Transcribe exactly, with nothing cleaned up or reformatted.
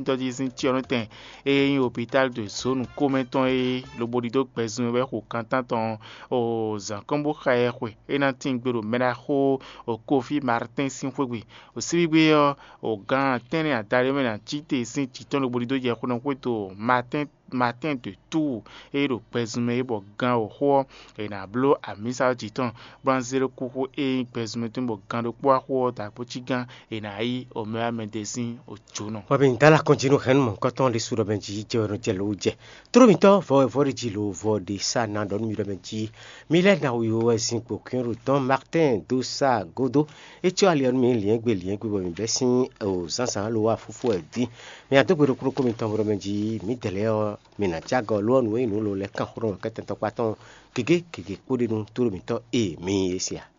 tɔjíhún sín cyɔ́nɔtɛn e nyí opitali ɖo zǒnu kómɛ tɔn é lobo ɖidó gbɛzun e wɛ xo kantántɔn o zǎnkɔ́nbóxa ɛ xwe é ná tín gbe ɖo mɛɖaxó o Kofi Martɛ́n sín xwé gbe. O síbígbe ɔ́, o gǎn tɛ́nnɛ adaɖé mɛ ná cí te sín jǐ tɔn lobo ɖidó jɛ xwénɔxwéto Martɛ́n Martɛ́n de Túu e ɖo gbɛzun mɛ é bɔ gán wǒxo ɔ́, è nǎ bló amǐsa ɔ́ jǐ tɔn, bó ná zé ɖó kúxú e nyí gbɛzunmɛ tɔn bɔ gán ɖokpó wá xo ɔ́ dó akpócígán è nǎ yí omɛwámɛdé sín òjǒnɔ. Hwɛ mi dala kɔn jí nú hɛ̌nnu mɔ̌hunkɔtɔn ɖésú ɖɔ mɛ jí jɛ wɛ nɔ jɛ lǒ jɛ. Tló mǐtɔn vɔ wɛ vɔ ɖé jí lǒ vɔ ɖé sá ná ɖɔ nú mi ɖɔ mɛ jí. Mi lɛ́ ná wǐwɔ wɛ zin kpo kɛ́nɖo tɔn Martin dó sá godo. É cyɔ ali ɔ́ nú mi liɛ́ngbe liɛ́ngbe bɔ mǐ bɛ́ sín o zǎnzǎn lo wá fúfú wɛ dín. Mi adó gbe ɖokpó ɖokpó mitɔn bo ɖɔ mɛ jí mǐdɛɛ lɛ́ɛ ɔ́, mi nǎ cí agɔ lo ɔ́ nǔ e nyí nǔ lo lɛ́ɛ kán xó nɔ kɛ́tɛ́ntɔ́kpá tɔn gěgé gěgé kpó ɖe nú tló mǐtɔn e mi nyí é se a?